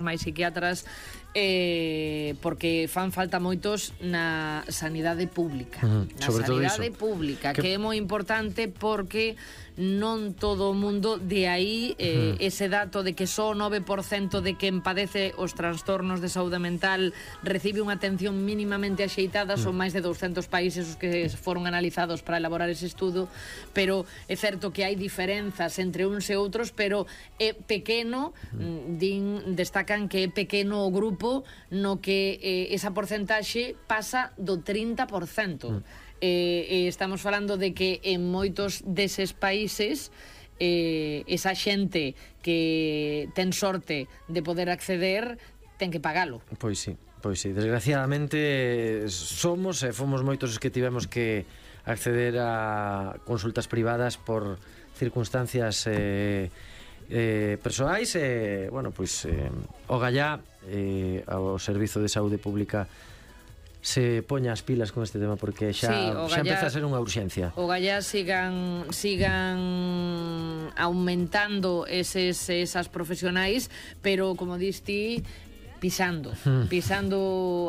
máis psiquiatras, porque fan falta moitos na sanidade pública. Na sanidade pública, que é moi importante porque non todo o mundo, de aí ese dato de que só o 9% de quen padece os trastornos de saúde mental recibe unha atención mínimamente axeitada. Son máis de 200 países os que foron analizados para elaborar ese estudo, pero é certo que hai diferenzas entre uns e outros, pero é pequeno, destacan que é pequeno o grupo no que esa porcentaxe pasa do 30%. Estamos falando de que en moitos deses países esa xente que ten sorte de poder acceder ten que pagalo. Pois sí, desgraciadamente fomos moitos os que tivemos que acceder a consultas privadas por circunstancias persoais. Bueno, pois o gallá ao Servizo de Saúde Pública se poña as pilas con este tema, porque xa empeza a ser unha urxencia. O gallá sigan aumentando esas profesionais, pero como dis ti, pisando,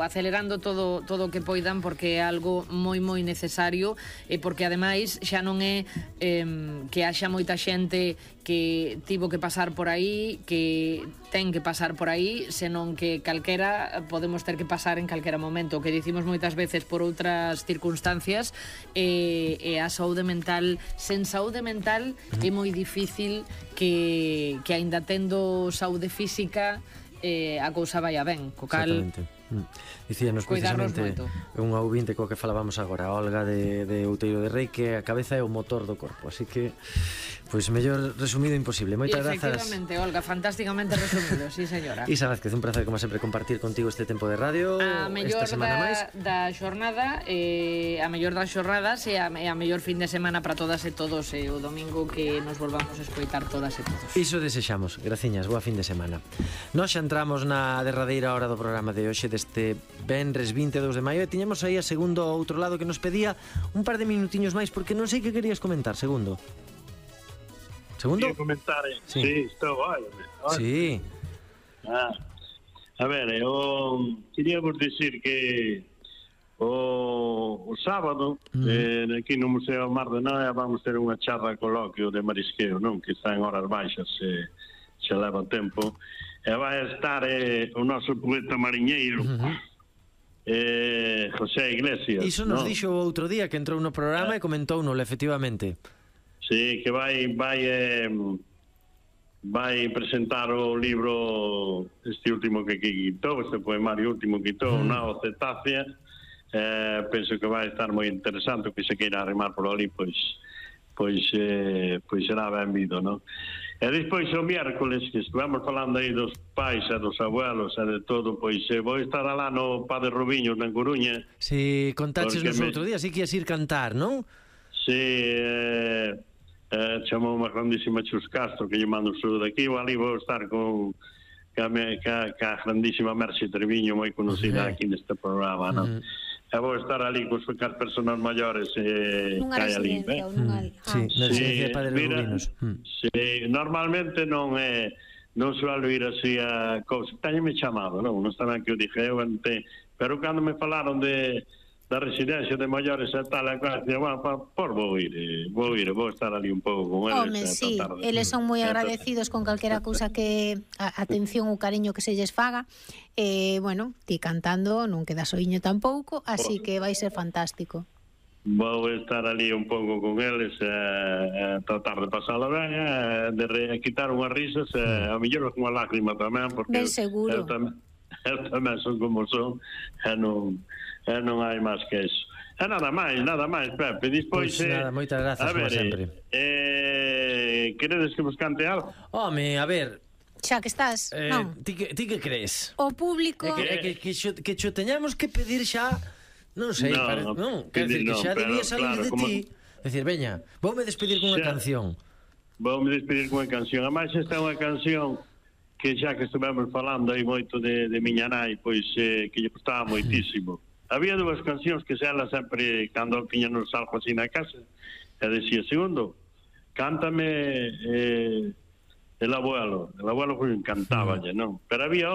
acelerando todo o que poidan, porque é algo moi necesario, porque ademais xa non é que haxa moita xente que tivo que pasar por aí, que ten que pasar por aí, senón que calquera podemos ter que pasar en calquera momento. O que dicimos moitas veces por outras circunstancias, a saúde mental, sen saúde mental é moi difícil que aínda tendo saúde física a cousa vai a ben, co cal dicíanos precisamente unha ouvinte coa que falábamos agora, Olga de Outeiro de Rei, que a cabeza é o motor do corpo, así que pois mellor resumido imposible. Moitas grazas. Efectivamente, Olga, fantásticamente resumido, sí señora. Isa Vázquez, un placer como sempre compartir contigo este tempo de radio. A mellor da xornada, a mellor das xornadas e a mellor fin de semana para todas e todos, o domingo que nos volvamos a escoitar todas e todos. Iso desexamos, graciñas, boa fin de semana. Nós xa entramos na derradeira hora do programa de hoxe, deste venres 22 de maio, e tiñamos aí a Segundo ao outro lado, que nos pedía un par de minutiños máis, porque non sei que querías comentar, Segundo. Quería comentar, sí, estou aí. Sí. A ver, quería vos dicir que o sábado aquí no Museo Mar de Noia vamos ter unha charla coloquio de marisqueo, non? Que está en horas baixas, se leva tempo, e vai estar o noso poeta mariñeiro, José Iglesias. Iso nos dixo o outro día que entrou no programa e comentounolo, efectivamente. Sí, que vai presentar o libro este último que quitou, este poemario último que quitou, Nao Cetácea. Penso que vai estar moi interesante, que se queira arrimar por ali, pois será benvido, non? E despois o miércoles, que estivemos falando aí dos pais e dos abuelos e de todo, pois vou estar alá no Padre Rubiño, na Coruña. Si, contaches nos outro día, si que ias ir cantar, non? Si, chamou unha grandísima Chus Castro, que lle mando un saúdo aquí, ali vou estar con a grandísima Merce Treviño, moi conocida aquí neste programa, non? E vou estar ali con as persoas maiores que hai ali. Sí, na residencia de Padre Rubinos. Sí, normalmente non suelo ir así a cousa. Téñeme chamado, non está ben que o dije eu antes, pero cando me falaron da residencia de maiores e tal, vou estar ali un pouco con eles. Home, sí, eles son moi agradecidos con calquera cousa que atención ou cariño que se lles faga. Bueno, ti cantando non quedas oiño tampouco, así que vai ser fantástico. Vou estar ali un pouco con eles, tratar de pasala ben, de quitar unhas risas, a mellor unha lágrima tamén, porque ben seguro. Eu tamén son como son, e non hai máis que eso. E nada máis, Pepe. Despois, nada, moitas grazas, como sempre. Queredes que vos cante algo? Home, a ver, xa que estás, non? Ti que crees? O público que xo teñamos que pedir xa, non sei, quer dizer que xa debía salir de ti. Decir, veña, voume despedir cunha canción. Voume despedir cunha canción. Ademais, esta é unha canción que xa que estivemos falando aí moito de miña nai, pois que lle gustaba moitísimo. Había dúas cancións que ela sempre, cando tiñanos algo así na casa, e decía, Segundo, cántame el abuelo foi encantáballe, non? Pero había